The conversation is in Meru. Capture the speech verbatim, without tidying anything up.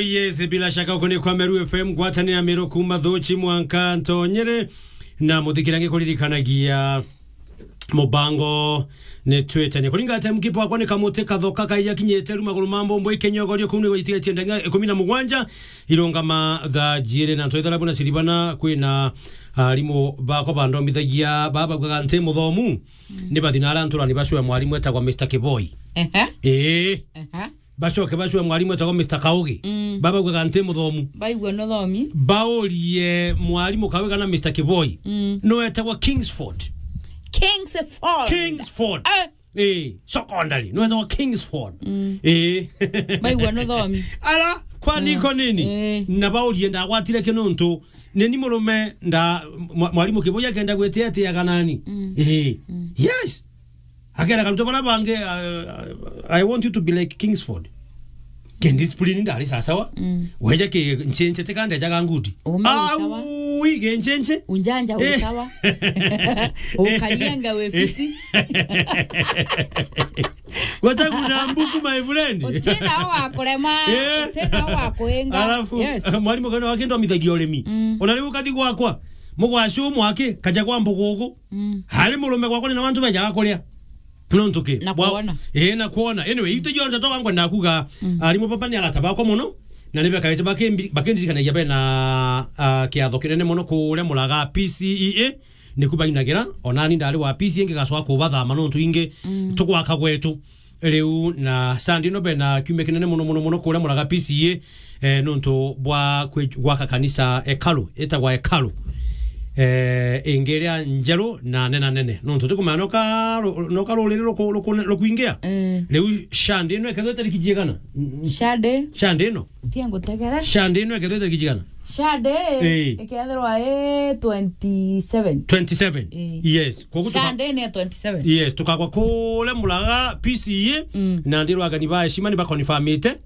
Yes, bila shaka uko ni kwa Meru F M, ngwatanira Meru kuma Thuchi mwanka Ntonyere, na muthikira ngikuririkanagia mubango ni twitania. Kuringa time kipo akwa ni kamuti kathoka kaija kinyite ru maguru ma mbombo ikenyogorio kuu ni gwitigetie ndagika ikumi na mugwanja, irungama thaa jiiri na ntwithara buna siribana kwina arimu bakwa bandomithagia baba bwaga nti muthomu. Ni bathi na ara nturani bacwe mwarimu etagwa Mister Kiboi. Ehe. Ii. Ehe. Bacoke bacwe mwarimu etagwa Mister Kaugi. Mm. Baba bwaga nti muthomu. Baigua no thomi. Baurie mwarimu Kaugi kana Mister Kiboi. Mm. No etagwa Kingsford. Kingsford. Kingsford. Eh. Eh, secondary. No etagwa Kingsford. Mm. Eh. Baigua no thomi. Ara, kwa niko nini? Eh. Na baurie ndagwatire ki nontu nini murume nda mwa-, mwarimu Kiboi akenda gwitia atiaga nani? Mm. Eh. Mm. Yes. Akera karuto bara bange, uh, I want you to be like Kingsford. Ken discipline ndari sasawa. Mm. Weja ke nchenche te kande jaga ngudi. Ume usawa. Au, wi ke nchenche. Unjanja usawa. Ukalianga we fiti. Wata kuna mbuku, my friend. Utina wa kurema, eh, utina wa kuenga. Alafu, yes, mwarimu kana wakindo amithagia urimi. Mm. Ona riu ukathi gwakwa, mugwacu mwaki, kaja kwa mbugugu. Mm. Hari murume gwakwa ni na bantu bejaga kuria. Nontu ki? Na kwona. Ii, na kwona. Anyway, itu jonthe toga ngwenda kuga, mm, arimu baba ni arata bakwa muno, na ni bekaite bakimbi-, bakindirikanagia bena, ah, kiatho kinene muno kuria Muraga P C E A, niku bainagira, onani ndari wa P C E A ngigacoka kubathama nontu ingi, mm, tugwaka gwetu. Riu na Sunday ino bena kiumia kinene muno, muno, muno kuria Muraga P C E A, eh, nontu bwa kwi-, gwaka kanisa hekalu, itagwa hekalu. Eh, ingi iria njeru na nena nene. Nontu tukumenya noka ru-, noka ruriri ruku-, ruku-, rukuingia. Eh. Riu Sunday ino ikethirwa itariki jigana? Sunday. Sunday ino. Tia ngutegere. Sunday ino ikethirwa itariki jigana? Sunday, eh, ikethirwa i twenty-seven. Twenty-seven. Eh. Yes. Koguo tuka- Sunday ni ya twenty-seven. Yes, tukagwa kuria Muraga P C E A, mm, na ndirwa ageni ba heshima ni bakonfirmite.